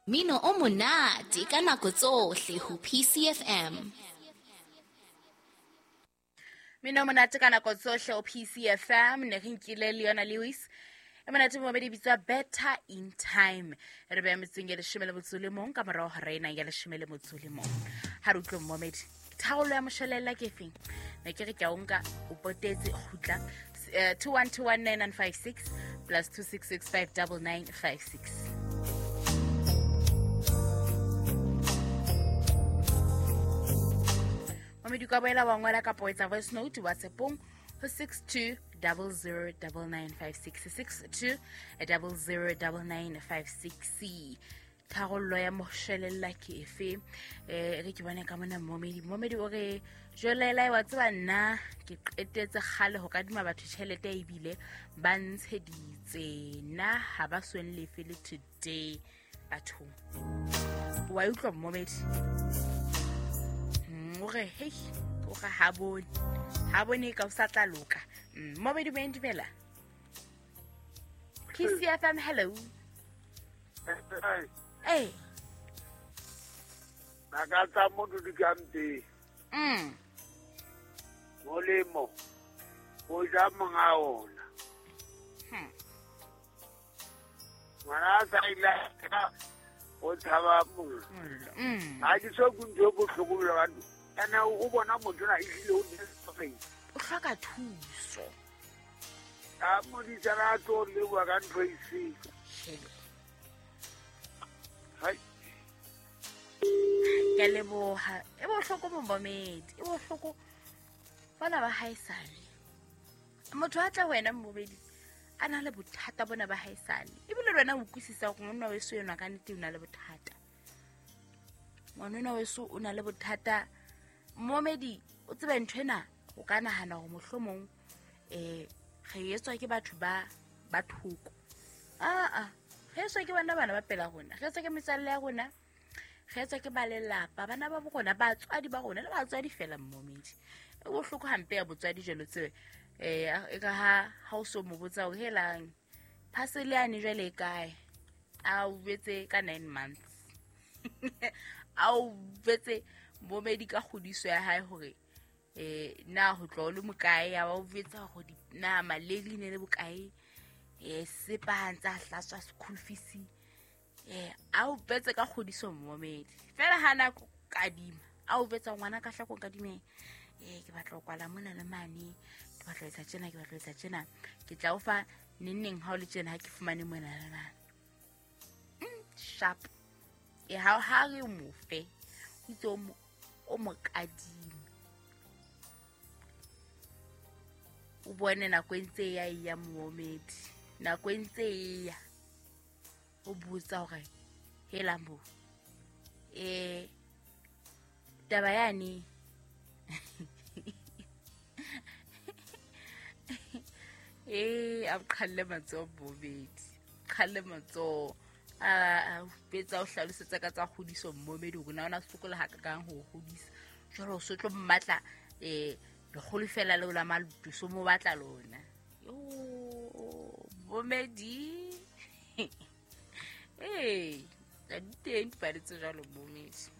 Mino o monate ka nako tsohle ho PCFM. Mino monate ka nako tsohle o PCFM ne re nkile Leona Lewis e monate momedi bitswa Better in Time. Re beya metsong ya 11 ka morao hora ena ya 11. Ha re utlwe momedi tharollo ya moshelella ke efeng? Ne ke re ke a o nka o potetse kgutla 21219956 plus 26659956. Momedi ka boela wa ngola kapa o etsa voice note WhatsAppong ho 62009956, 62009956. Tharollo ya moshelella ke efe? Re ke bone ka mona momedi. Momedi o re jwelela wa tseba nna ke qetetse kgale ho kadima batho tjhelete ebile ba ntsheditse nna ha ba sweng lefe le today bathong. Wa utlwa momedi? O re hei, o re ha bone. Ha bone ka o sa tla loka. Momedi o dumela. PCFM, hello. Hey. Naka tsa motho di ka mpe. Molemo. O ja monga ona. Ngwana sa ile o tshaba mollo. Ha ke so kuntho bohloko le batho. Ana o bona motho na ehlile o desperate. O hloka thuso. A modisa ra tlo le bua ka ntho e seng. Hai. Ke leboha. E bohloko momedi, e bohloko. Bana ba haesale. Motho a tla wena momedi a na le bothata bona ba haesale. Ebile le wena o utlwisisa hore monna weso enwa ka nnete o na le bothata. Ngwanona weso o na le bothata. Momedi o tsebe ntho ena o ka nahana hore mohlomong re etswa ke batho ba thoko. Aa, re etswa ke bana bana ba pela rona, re etswa ke metswalle ya rona, re etswa ke ba lelapa, bana ba rona, batswadi ba rona le batswadi fela momedi. E bohloko hampe ya botswadi jwalo tsebe. E ka ha o so mo botsa hore helang parcel yane jwale e kae? A o betse ka 9 months. A o betse momedi ka kgodiso ya hae hore na ho tlo le mokae ya o betsa hore na maleli ne le bokae sepa ha ntsa hlatswa school fees a o betse ka kgodiso momedi fela ha na kadima a o betsa ngwana ka hlako kadime ke batla ho kwala mona le mane ke batla etsa tjena ke batla etsa tjena ke tla o fa neng ha o le tjena ha ke fumane mona le mane. Sharp ha ha re mo fe o itse o mo kadime o bone nako e ntse ya ya momedi nako e ntse ya o botsa hore hela mo taba yane a qhalle matsoho momedi qhalle matsoho a betsa o hlalosetsa ka tsa kgodiso momedi hore na ona sokola ha kakang ho hodisa jwale o so tlo mmatla lekgolo fela le la malutu so mo batla lona yo momedi tsa diteng dipale tse jwalo momedi.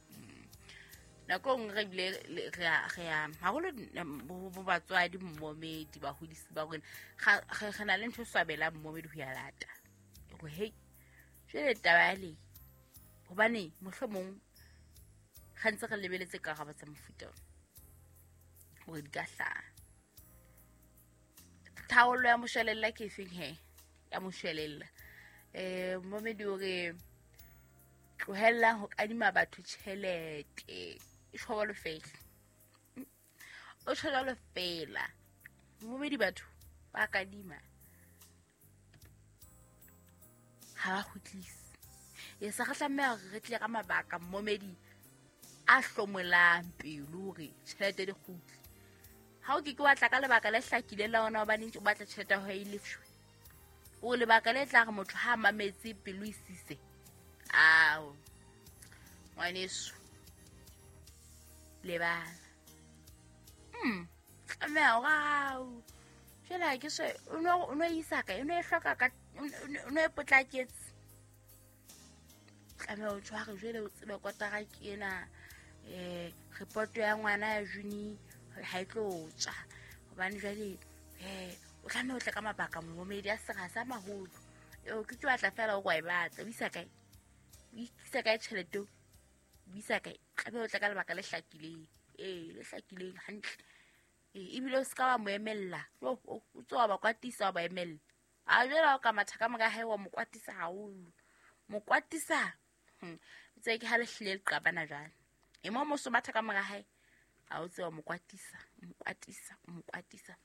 Nako nngwe re bile re a haholo bo batswadi momedi bahodisi ba rona re na le ntho e swabelang momedi ho ya lata hore hei jwale taba ya le hobane mohlomong ga ntse re lebeletse karabo tsa mofuta hore di ka hlaha. Thaollo ya moshelella ke efeng he? Ya moshelella. Momedi o re tlohellang ho kadima batho tjhelete. E tjho fela. O tjho jwalo fela. Momedi batho ba kadima ha ba kgutlise. E sa re tlameha hore re tle ka mabaka momedi a hlomolang pelo hore tjhelete di kgutle. Ha o ke ke wa tla ka lebaka le hlakileng la ona hobane o batla tjhelete ya hao e lefshwe. O lebaka le tla re motho ha mametse pelo e sise. Ao. Ngwaneso. Lebala. Tlameha hore jwale ha ke so o no isa kae? O no e hloka ka o no e potlaketse. Tlameha o tshware jwale o tsebe kotara ke ena reporto ya ngwana ya juni ha e tlo tswa hobane jwale o tlameha o tle ka mabaka momedi a sera sa maholo. Eo ke tlo batla fela o kwa e batla o isa kae? O isa kae tjhelete o? O isa kae? Tlameha o tle ka lebaka le hlakileng. Le hlakileng hantle. Ebile o ska wa mo emella. O tsoa ba kwatisa wa ba emella. A jwale o ka matha ka mora hae wa mo kwatisa haholo. Mo kwatisa. Tse ke ha le hlile le qabana jwale. E mo mo so matha ka mora hae. A o tsewa mo kwatisa, mo kwatisa, mo kwatisa.